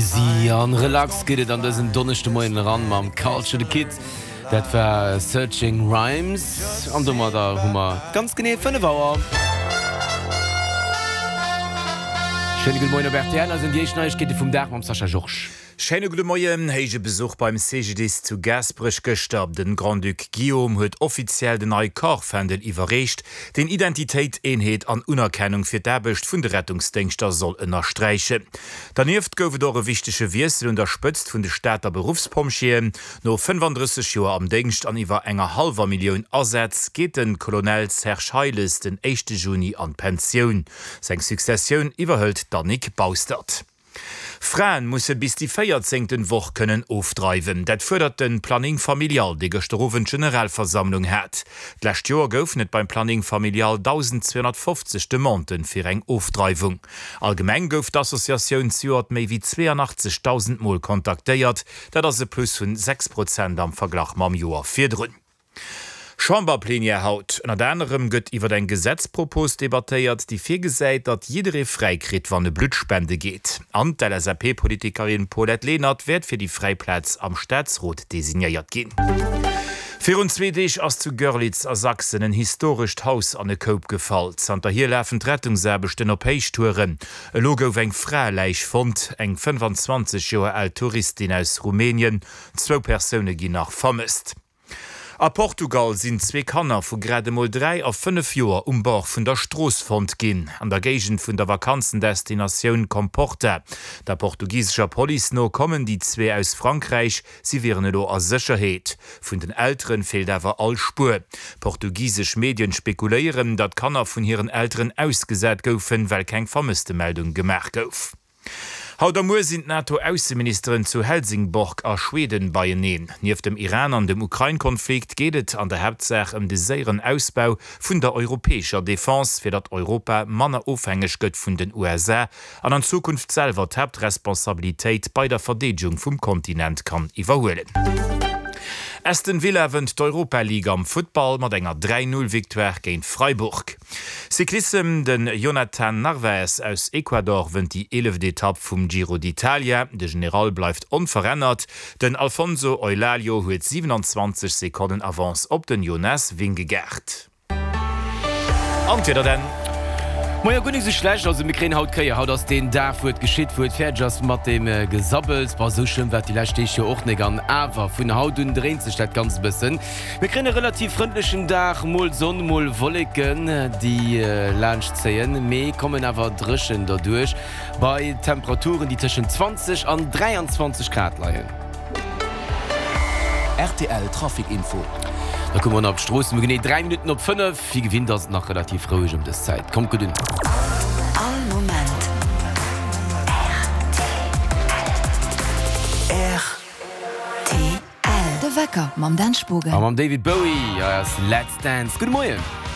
Easy an relax geet et an dësen Donneschdemoien eran mam Culture the Kid. Dat war Searching Rhymes an domadder hu mer ganz genee 5 Auer. Schéine gudde Moien op rtl. Hei sinn déi éischt Neiegkeete vum Dag mam Sascha Georges. Schéine gudde Moien. Héije Besuch beim CGDIS zu Gaasperech gëschter. Den Grand-Duc Guillaume huet offiziell den nei Corps-Fändel iwwerreecht, deen Identitéit, Eenheet an Unerkennung fir d'Aarbecht vun de Rettungsdéngschter soll ënnersträichen. Dernieft gouf et och e wichtege Wiessel un der Spëtzt vun de Stater Beruffspompjeeën. No 35 Joer am Déngscht an iwwer enger hallwer Millioun Asätz geet de Colonel Serge Heiles den éischte Juni an d'Pensioun. Seng Successioun iwwerhëlt d'Annick Baustert. Fraen musse bis déi véierzéngten Woch kënnen ofdreiwen. Dat fuerdert de Planning Familial, dee gëschter Owend Generalversammlung hat. D'lescht Joer goufen et beim Planning Familial 1.250 Demanden fir eng Ofdreiwung. Allgemeng gouf d'Associatioun zejoert méi wéi 82.000 Mol kontaktéiert. Dat ass e Plus vun 6 Prozent am Verglach mam Joer virdrun. Chamberplenière haut. Ënnert anerem gëtt iwwer eng Gesetzpropos debattéiert, déi virgesäit, datt jidderee fräi kritt, wann e Blutt spende geet. An d'LSAP-Politikerin Paulette Lenert wäert fir déi fräi Plaz am Staatsrot designéiert ginn. Virun zwee Deeg ass zu Görlitz a Sachsen en historescht Haus an e Koup gefall. Zanterhier lafen d'Rettungsaarbechten op Héichtouren. Elo gouf eng Fraeläich fonnt, eng 25 Joer al Touristin aus Rumänien. Zwou Persoune ginn nach vermësst. A Portugal sinn zwee Kanner vu grad emol 3 a 5 Joer um Bord vun der Strooss fonnt ginn, an der Géigend vun der Vakanzendestinatioun Comporta. Der portugisescher Police no kommen déi zwee aus Frankräich, si wieren elo a Sécherheet. Vun den Elteren feelt awer all Spuer. Portugisesch Medien spekuléieren, datt d'Kanner vun hiren Elteren ausgesat goufen, well keng Vermësstemeldung gemaach gouf. Haut a muer sinn d'NATO-Ausseministeren zu Helsingborg a Schweden beieneen. Nieft dem Iran an dem Ukrain-Konflikt geet et an der Haaptsaach ëm de séieren Ausbau vun der europäescher Defense, fir datt Europa manner ofhängeg gëtt vun den USA an an Zukunft selwer d'Haaptresponsabilitéit bei der Verdeedegung vum Kontinent kann iwwerhuelen. Aston Villa wënnt d'Europa League am Futtball mat enger 3, 0 Victoire géint Freiburg. Cyclissem, Den Jhonatan Narvaez aus Ecuador wënnt déi eeleft Etapp vum Giro d'Italia. De General bleift onverännert. Den Alfonso Eulalio huet 27 Sekonnen Avance op den Jonas Vingegaard. An d'Wieder dann? Moia, guer nik sou schlecht. Also mir kréien haut d'Kéier. Haut ass deen Dag wou et geschitt, wou et fäerdeg ass mat deem Gesabbels. Bon, sou schlëmm war et déi lescht Deeg jo och nik. An awer, vun haut un dréint sech dat Ganzt e bëssen. Mir kréien e relativ frëndlechen Dag, mol Sonn, mol Wolleken déi laanscht zéien, mee kommen awer dréchen derduerch bei Temperaturen déi tëschent 20 an 23 Grad leien. Rtl Trafic Info. Da kucke mer nach op d'Stroossen, no genee 3 Minutten op 5. Wéi gewinnt ass et nach relativ roueg ëm dës Zäit. Kommt gutt un. All Moment rtl. De Wecker mam Dan Spogen. A mam David Bowie, hei ass Let's Dance. Gudde Moien.